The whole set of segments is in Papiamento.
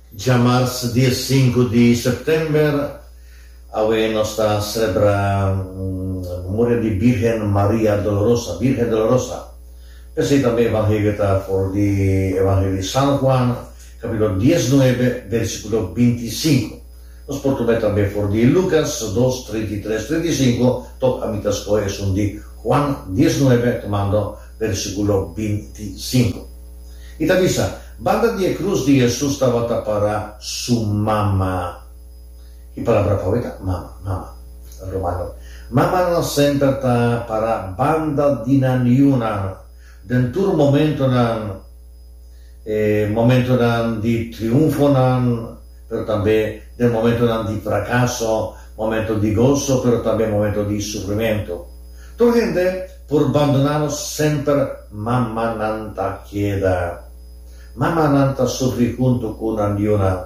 Djamars dia sinku di sèptèmber, awe nos ta selebrá memoria di Bírgen Maria Dolorosa, Bírgen Dolorosa. P'esei tambe evangelio ta for di Evangelio di San Juan, kapítulo diesnuebe, versíkulo bintisinku. Nos por tuma e tambe for di Lukas dos, 33, 35, tòg ami ta skohe esun di Juan diesnuebe, tumando versíkulo 25. I ta bisa, Banda di e krus di Hesus tabata pará su mama. Ki palabra pa weta? Mama, mama. Rumannan, mamanan semper ta pará banda di nan yunan den tur momentonan, e momentonan di triunfonan, pero tambe den momentonan di frakaso, momento di goso, pero tambe momento di sufrimentu. Tur hende por bandoná nos semper mamanan ta keda. Mamanan ta sufri huntu ku nan yunan.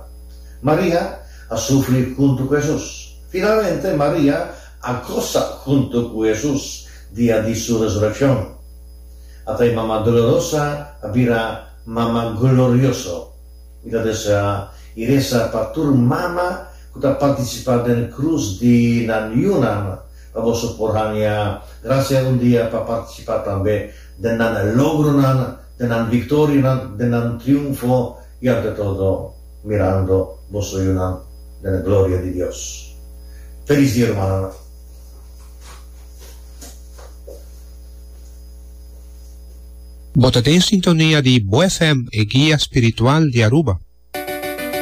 Maria a sufri huntu ku Hesus. Finalmente Maria a gosa huntu ku Hesus dia di su resurekshon. Ata e mama dolorosa a bira mama glorioso. Mi ta deseá i resa pa tur mama ku ta partisipá den krus di nan yunan pa boso por haña grasia un dia pa partisipá tambe den nan logronan, den nan viktorianan, den nan triunfo i ante todo mirando boso yunan den e gloria di Dios. Felis dia rumannan. Bo ta den sintonia di Bo FM, e guia spiritual di Aruba.